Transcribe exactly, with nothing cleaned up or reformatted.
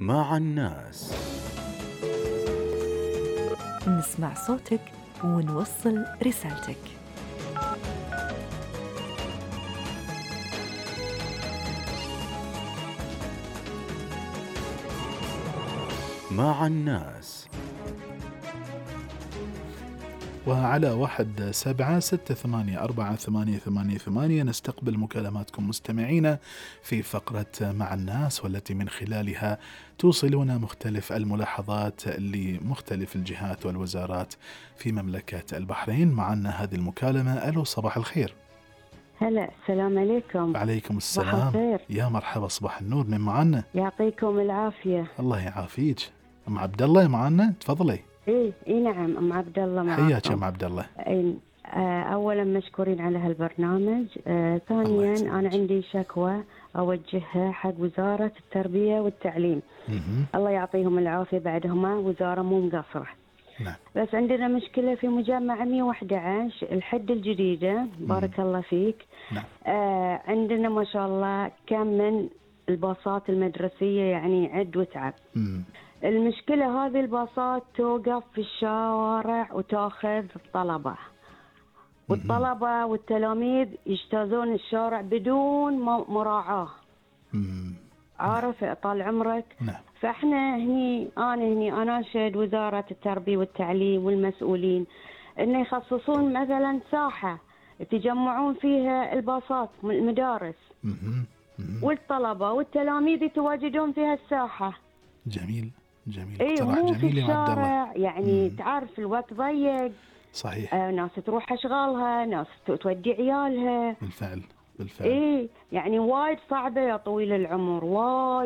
مع الناس. نسمع صوتك ونوصل رسالتك. مع الناس. وعلى واحد سبعة ستة ثمانية أربعة ثمانية ثمانية ثمانية نستقبل مكالماتكم مستمعين في فقرة مع الناس، والتي من خلالها توصلون مختلف الملاحظات لمختلف الجهات والوزارات في مملكة البحرين. معنا هذه المكالمة. ألو، صباح الخير. هلا، السلام عليكم. وعليكم السلام. يا مرحبا، صباح النور. من معنا؟ يعطيكم العافية. الله يعافيك. أم عبد الله معنا، تفضلي. ايه ايه نعم، ام عبد الله معكم. حياك ام عبد الله. إيه آه اولا مشكورين على هالبرنامج. آه ثانيا انا عندي شكوى اوجهها حق وزارة التربية والتعليم. مم. الله يعطيهم العافية، بعدهما وزارة مو مقصرة. نعم. بس عندنا مشكلة في مجمع مية وأحد عشر الحد الجديدة. بارك مم. الله فيك. نعم. آه عندنا ما شاء الله كم من الباصات المدرسية، يعني عد وتعب. مم. المشكلة هذه الباصات توقف في الشوارع وتاخذ الطلبة، والطلبة والتلاميذ يجتازون الشارع بدون مراعاة. مم. عارف طال عمرك. نعم. فاحنا هني انا هني اناشد وزارة التربية والتعليم والمسؤولين انه يخصصون مثلا ساحة يتجمعون فيها الباصات من المدارس. مم. مم. والطلبة والتلاميذ يتواجدون في هالساحة. جميل جميل. ايه اقتراح مو جميل في يا عبد الله. الشارع، يعني مم. تعرف الوقت ضيق. صحيح. آه ناس تروح اشغالها، ناس تودي عيالها. بالفعل بالفعل. ايه يعني وايد صعبة يا طويل العمر، وايد